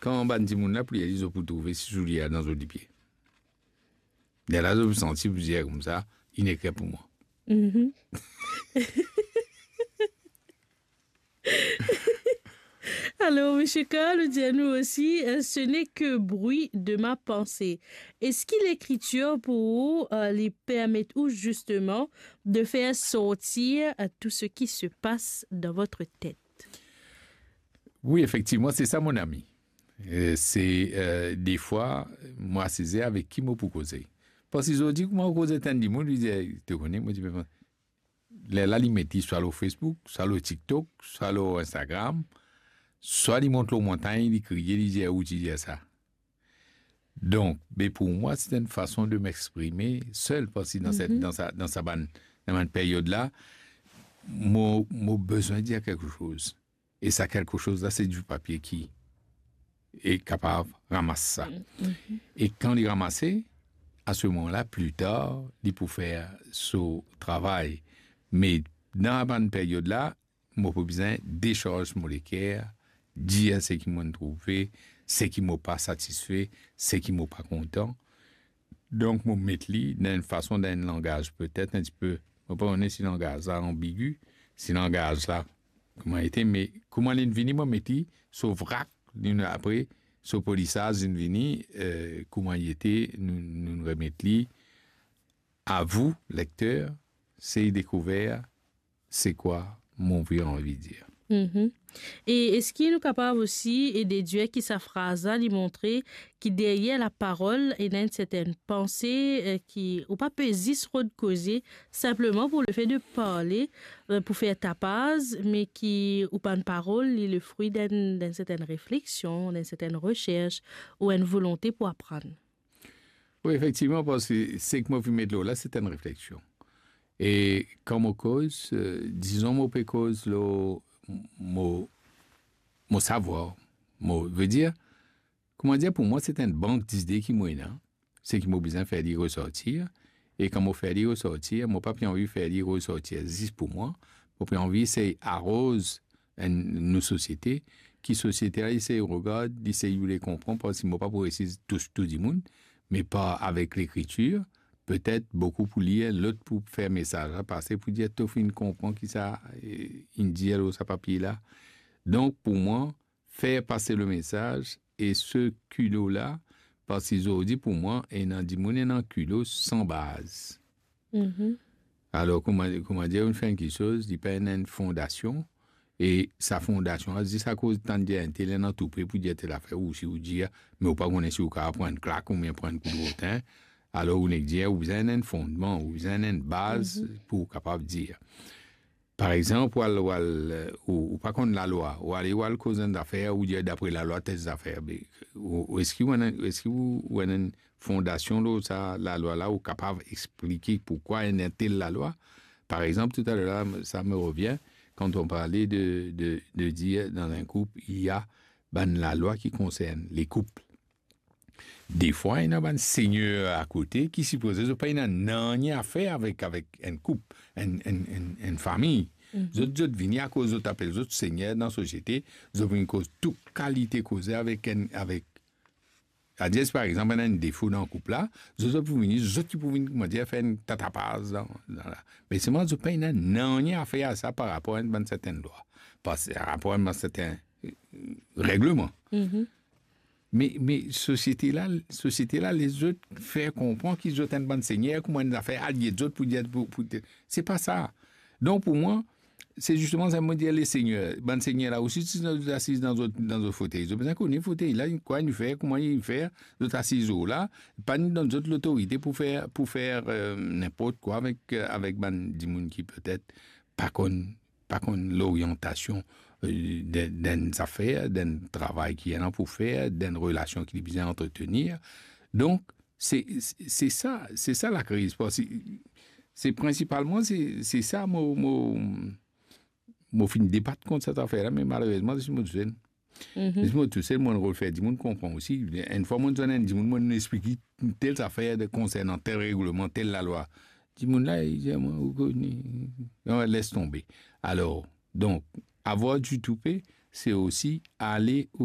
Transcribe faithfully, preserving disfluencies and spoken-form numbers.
kan bann dimoun la pou li, zot pou trouve si soulie la dan zot lipie. Lerla zot pou santi pou dir koumsa, inn ekrir pou mwa. Mhm. Alors, monsieur Carl, dis-nous aussi, euh, ce n'est que bruit de ma pensée. Est-ce que l'écriture pour vous, euh, les permet ou justement de faire sortir, euh, tout ce qui se passe dans votre tête? Wi, efektivman, se sa, mon ami. Euh, se, euh, defwa, mo asize avek ki mo pou koze. Parski zordi, kouma ou koz ek enn dimoun, li dir, "To kone," mo dir, "Me lerla li met li swa lor Facebook, swa lor TikTok, swa lor Instagram, swa li mont lor montagn, li kriye, li dir, 'Ou ti dir sa.'" Donk, be pou mwa, se enn fason de m'exprimer seul, parski dan set, dan sa, dan sa bann, dan bann peryod la, mo, mo bizin dir kiksoz. E sa kiksoz la, se di papie ki e kapav ramas sa. E kan li ramase, a se moman la, pli tar, li pou fer so travay. Me dan bann peryod la, mo pou bizin desarz mo leker, dir seki mo trouve, seki mo pa satisfe, seki mo pa kontan. Donk, mo met li dan enn fason, dan enn langaz petet enn tipe, mo pa kone si langaz la anbigi, si langaz la kouma ete, me kouma linn vini, mo met li so vrak, linn apre so polisaz linn vini, eh, kouma li ete, nou, nou remet li. A vous, lecteur, sey dekouver se kwa mo anvi, anvi dir. Mhm. E eski nou kapav osi, e, dedir ki sa fraz la, li montre ki deryer laparol, ena enn sertenn panse, e, ki, ou pa pe zis rod koze, sinpleman pou lefe de parle, e, pou fer tapaz, me ki ou bann parol, li lefri d'enn, d'enn sertenn refleksion, d'enn sertenn reserch, ou enn volonte pou aprann? Wi, efektivman, parski seki mo finn met lor la, se enn refleksion. E kan mo koz, eh, dizon mo pe koz lor mo, mo savwar, mo, vedir, kouma dir, pou mwa, se enn bank dide ki mo ena, seki mo bizin fer li resortir, e kan mo fer li resortir, mo pa pe anvi fer li resortir zis pou mwa, mo pe anvi sey aroz enn, nou sosiete, ki sosiete la, li sey regard, li sey vouloir konpran, parski mo pa pou resi tous tou dimoun, me par avek lekritir, petet boukou pou lir, lot pou fer mesaz la pase, pou dir, to finn konpran ki sa, eh, inn dir lor sa papie la. Donk, pou mwa, fer pase le mesaz, e se kilo la, parski zordi, pou mwa, ena dimoun ena kilo san baz. Mhm. Alor, kouma, kouma dir, ou fer enn kiksoz, li pa ena enn fondasion, e sa fondasion la, zis akoz tann dir enn tel ena toupe pou dir tel zafer, ou si ou dir, me ou pa kone si ou kapav pran enn klak oubien pran enn kout rotin, alor ou nek dir, ou bizin enn fondman, ou bizin enn baz, mhm, pou ou kapav dir. Par exanp, ou al, ou al, eh, ou, ou pa konn lalwa, ou ale, ou al koz enn zafer, ou dir dapre lalwa tel zafer, be, ou, ou eski ou ena, eski ou, ou ena enn fondasion lor sa lalwa la, ou kapav explike poukwa ena tel lalwa? Par exanp, toutaler la, sa me revien, kan on parlait de, de, de dire dans un couple, il y a bann lalwa ki konsern le koup. Defwa, ena bann segner akote ki sipoze zot pa ena nanye a fer avek, avek enn koup, enn, enn, enn, enn fami. Mhm. Zot, zot vini akoz zot apel zot segner dan sosiete, zot vinn koz tou kalite koze avek enn, avek, adir, si par exanp, ena enn defo dan koup la, zot, zot pou vini, zot ki pou vinn, kouma dir, fer enn tatapaz dan, dan la. Me selman, zot pa ena nanye a fer a sa par rapor a enn bann sertenn lwa, par rapor a enn bann sertenn, eh, regleman. Mhm. Me, me sosiete la, sosiete la, les zot fer konpran ki zot enn bann segner, kouma enn zafer aliet zot pou dir, pou, pou, se pa sa. Donk, pou mwa, se zisteman sa mo dir, le segner, bann segner la osi, si zot asiz dan zot, dan zot fotey, zot bizin kone fotey la, kwa li fer, kouma li fer, zot asiz lor la, pa ni donn zot lotorite pou fer, pou fer, eh, ninport kwa avek, eh, avek bann dimoun ki petet pa konn pa konn loriantasion, eh, de, d'enn zafer, d'enn travay ki ena pou fer, d'enn relasion ki li bizin antretenir. Donk, se, se, se sa, se sa lakriz. Parski se, se prinsipalman, se, se sa mo, mo, mo finn debat kont sa zafer la, me malerezman, se mo tousel. Mhm. Zis mo tousel, mo rod fer dimoun konpran osi. Enn fwa mo zwenn enn dimoun, mo explik li tel zafer de konsernan tel regleman, tel lalwa. Dimoun la, li dir mwa, ou kone, non, les tonbe. Alor, donk, avoir du toupet, se osi ale o